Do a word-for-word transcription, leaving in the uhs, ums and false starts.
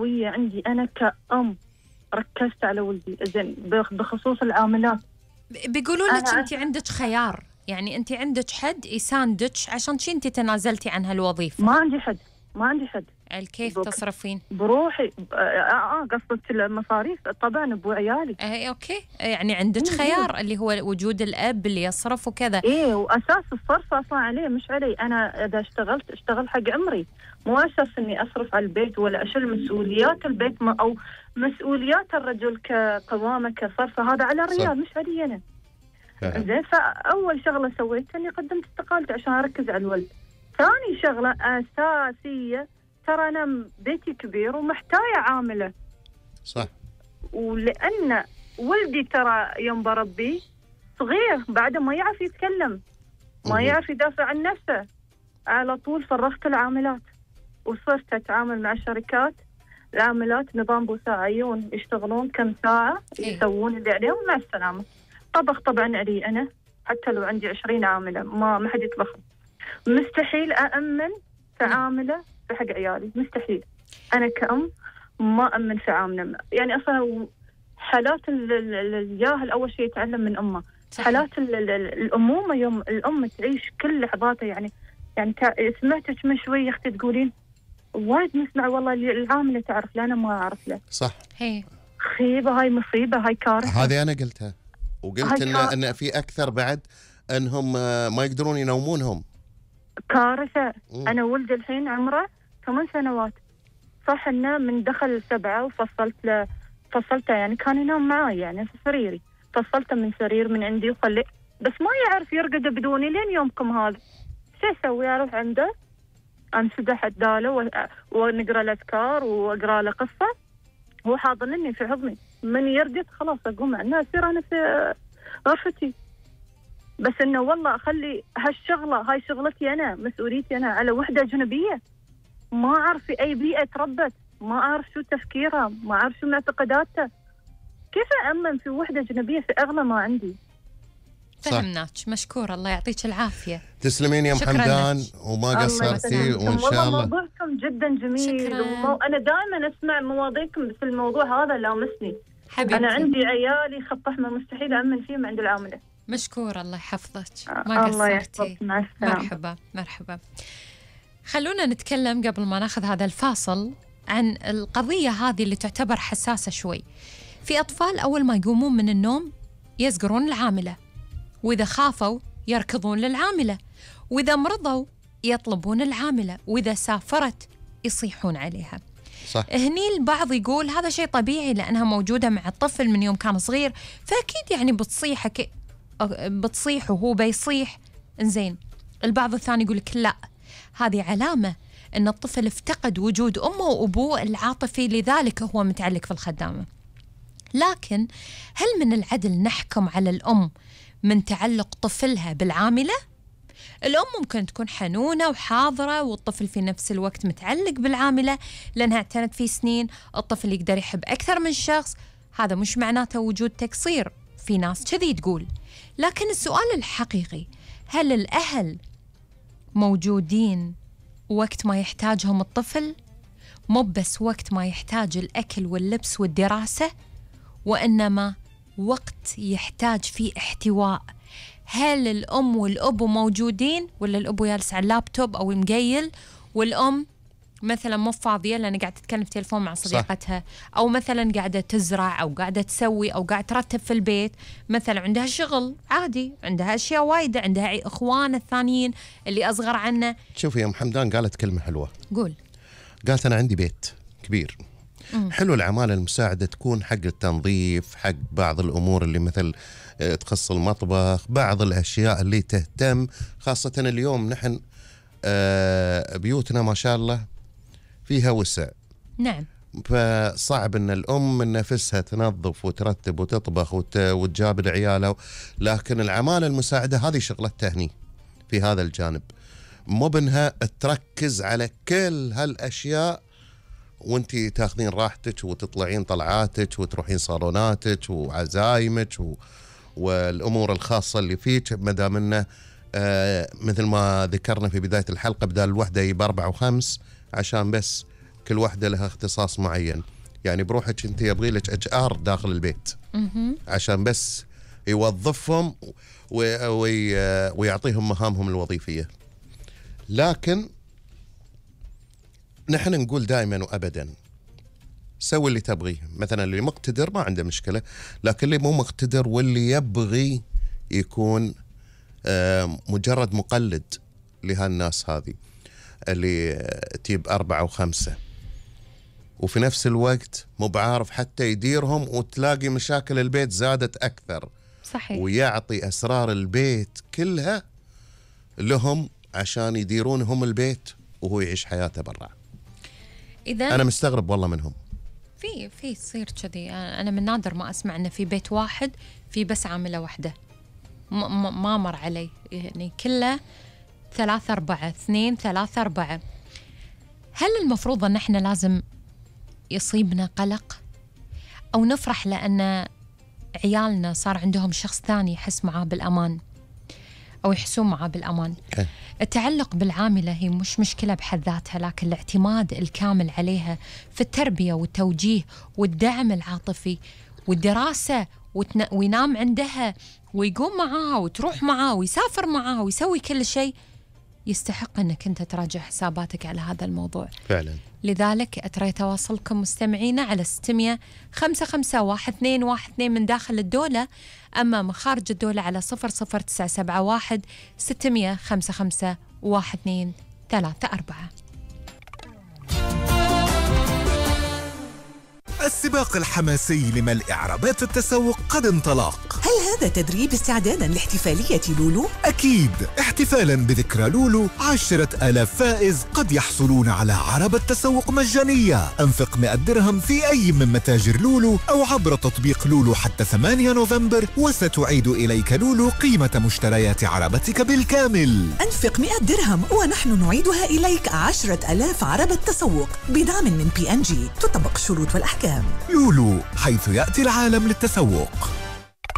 قوية عندي أنا كأم، ركزت على ولدي. زين بخصوص العاملات، بيقولوا لك أنت عندك خيار، يعني أنت عندك حد يساندك عشان شي أنت تنازلتي عن هالوظيفة. ما عندي حد، ما عندي حد. كيف تصرفين؟ بروحي. اه اه قصدك المصاريف طبعا ابو عيالي. اي اوكي، يعني عندك خيار اللي هو وجود الاب اللي يصرف وكذا. ايه، واساس الصرف اصلا عليه مش علي. انا اذا اشتغلت اشتغل حق عمري، مو اساس اني اصرف على البيت ولا اشيل مسؤوليات البيت او مسؤوليات الرجل كقوامه كصرفه، هذا على الرجال مش علي انا. زين، فاول شغله سويتها اني قدمت استقالتي عشان اركز على الولد. ثاني شغله اساسيه، ترى أنا بيتي كبير ومحتاجة عاملة. صح. ولأن ولدي ترى يوم بربيه صغير، بعده ما يعرف يتكلم، ما يعرف يدافع عن نفسه، على طول فرغت العاملات وصرت أتعامل مع الشركات. العاملات نظام بوساعيون، يشتغلون كم ساعة، يسوون اللي عليهم مع السلامة. طبخ طبعا علي أنا، حتى لو عندي عشرين عاملة ما ما حد يطبخ. مستحيل أأمن في عاملة في حق عيالي، مستحيل. أنا كأم ما أمن في عاملة. يعني أصلا حالات الجاهل أول شيء يتعلم من أمه. حالات الأمومة يوم الأم تعيش كل لحظاتها. يعني يعني سمعتك من شوي أختي تقولين وايد نسمع والله العاملة تعرف له، أنا ما أعرف له. صح. هي خيبة، هاي مصيبة، هاي كارثة. هذه أنا قلتها، وقلت إن إن في أكثر بعد أنهم ما يقدرون ينومونهم. كارثة. مم. أنا ولدي الحين عمره ثمان سنوات، صح إنه من دخل سبعة وفصلت له، فصلته يعني كان ينام معي يعني في سريري، فصلته من سرير من عندي وخليه، بس ما يعرف يرقد بدوني لين يومكم هذا. شو أسوي؟ أروح عنده أنسدح الداله ونقرأ الأذكار وأقرأ له قصة، هو حاضنني في حضني، من يرقد خلاص أقوم عنه أصير أنا في غرفتي. بس إنه والله أخلي هالشغلة، هاي شغلتي أنا، مسؤوليتي أنا، على وحدة أجنبية ما أعرف في أي بيئة تربت، ما أعرف شو تفكيرها، ما أعرف شو معتقداتها، كيف أأمن في وحدة أجنبية في أغلى ما عندي؟ فهمناك، مشكور، الله يعطيك العافية. تسلمين يا ام حمدان وما قصرتي، وإن شاء الله. والله موضوعكم جدا جميل، ومو... أنا دائما أسمع مواضيعكم في الموضوع هذا لامسني حبيبتي. أنا عندي عيالي خط أحمر مستحيل أأمن فيهم عند العاملة. مشكور، الله يحفظك، ما قصرتي. مرحبا مرحبا. خلونا نتكلم قبل ما ناخذ هذا الفاصل عن القضية هذه اللي تعتبر حساسة شوي. في أطفال أول ما يقومون من النوم يزقرون العاملة، وإذا خافوا يركضون للعاملة، وإذا مرضوا يطلبون العاملة، وإذا سافرت يصيحون عليها. صح. هني البعض يقول هذا شيء طبيعي لأنها موجودة مع الطفل من يوم كان صغير، فأكيد يعني بتصيح ك... بتصيح وهو بيصيح. إنزين، البعض الثاني يقول لك لا، هذه علامة أن الطفل افتقد وجود أمه وأبوه العاطفي، لذلك هو متعلق في الخدامة. لكن هل من العدل نحكم على الأم من تعلق طفلها بالعاملة؟ الأم ممكن تكون حنونة وحاضرة والطفل في نفس الوقت متعلق بالعاملة لأنها اعتنت فيه سنين. الطفل يقدر يحب أكثر من شخص، هذا مش معناته وجود تقصير، في ناس كذي تقول. لكن السؤال الحقيقي، هل الأهل موجودين وقت ما يحتاجهم الطفل؟ مو بس وقت ما يحتاج الأكل واللبس والدراسة، وإنما وقت يحتاج فيه احتواء. هل الأم والأب موجودين، ولا الأب جالس على اللابتوب أو مقيل والأم مثلا مو فاضية لأن قاعدة تتكلم في تليفون مع صديقتها، صح. أو مثلا قاعدة تزرع أو قاعدة تسوي أو قاعدة ترتب في البيت، مثلا عندها شغل عادي، عندها أشياء وايدة، عندها إخوان الثانيين اللي أصغر عنه. شوفي يا أم حمدان قالت كلمة حلوة. قول. قالت أنا عندي بيت كبير. مم. حلو العمالة المساعدة تكون حق التنظيف، حق بعض الأمور اللي مثل تخص المطبخ، بعض الأشياء اللي تهتم، خاصة اليوم نحن بيوتنا ما شاء الله فيها وسع. نعم. فصعب ان الام من نفسها تنظف وترتب وتطبخ وت... وتجاب عيالها، لكن العمالة المساعدة هذه شغلتها هني في هذا الجانب، مو بانها تركز على كل هالاشياء وانتي تاخذين راحتك وتطلعين طلعاتك وتروحين صالوناتك وعزايمك و... والامور الخاصة اللي فيك، ما دام انه آه مثل ما ذكرنا في بداية الحلقة بدال الوحدة يبقى أربعة وخمس عشان بس كل واحدة لها اختصاص معين. يعني بروحك أنت يبغي لك اتش ار داخل البيت عشان بس يوظفهم ويعطيهم مهامهم الوظيفية. لكن نحن نقول دائما وأبدا سوي اللي تبغيه. مثلا اللي مقتدر ما عنده مشكلة، لكن اللي مو مقتدر واللي يبغي يكون مجرد مقلد لهالناس هذه اللي تجيب أربعة وخمسة وفي نفس الوقت مو بعارف حتى يديرهم، وتلاقي مشاكل البيت زادت أكثر. صحيح. ويعطي أسرار البيت كلها لهم عشان يديرون هم البيت وهو يعيش حياته برا. إذا أنا مستغرب والله منهم. في في تصير كذي. أنا من نادر ما أسمع إنه في بيت واحد في بس عاملة واحدة، ما مر علي، يعني كله ثلاثة أربعة، اثنين ثلاثة أربعة. هل المفروض أن احنا لازم يصيبنا قلق أو نفرح لأن عيالنا صار عندهم شخص ثاني يحس معاه بالأمان أو يحسون معاه بالأمان؟ التعلق بالعاملة هي مش مشكلة بحد ذاتها، لكن الاعتماد الكامل عليها في التربية والتوجيه والدعم العاطفي والدراسة وتن... وينام عندها ويقوم معاها وتروح معاها ويسافر معاها ويسوي كل شيء، يستحق أنك أنت تراجع حساباتك على هذا الموضوع فعلا. لذلك أترى تواصلكم مستمعينا على ستمية خمسة خمسة واحد اثنين واحد اثنين من داخل الدولة، أما من خارج الدولة على صفر صفر تسعة سبعة واحد ستمية خمسة خمسة واحد اثنين ثلاثة أربعة. السباق الحماسي لملء عربات التسوق قد انطلق. هل هذا تدريب استعدادا لاحتفالية لولو؟ أكيد، احتفالا بذكرى لولو عشرة آلاف فائز قد يحصلون على عربة تسوق مجانية. أنفق مئة درهم في أي من متاجر لولو أو عبر تطبيق لولو حتى ثمانية نوفمبر، وستعيد إليك لولو قيمة مشتريات عربتك بالكامل. أنفق مئة درهم ونحن نعيدها إليك عشرة آلاف عربة تسوق بدعم من بي إن جي. تطبق الشروط والأحكام. لولو، حيث يأتي العالم للتسوق.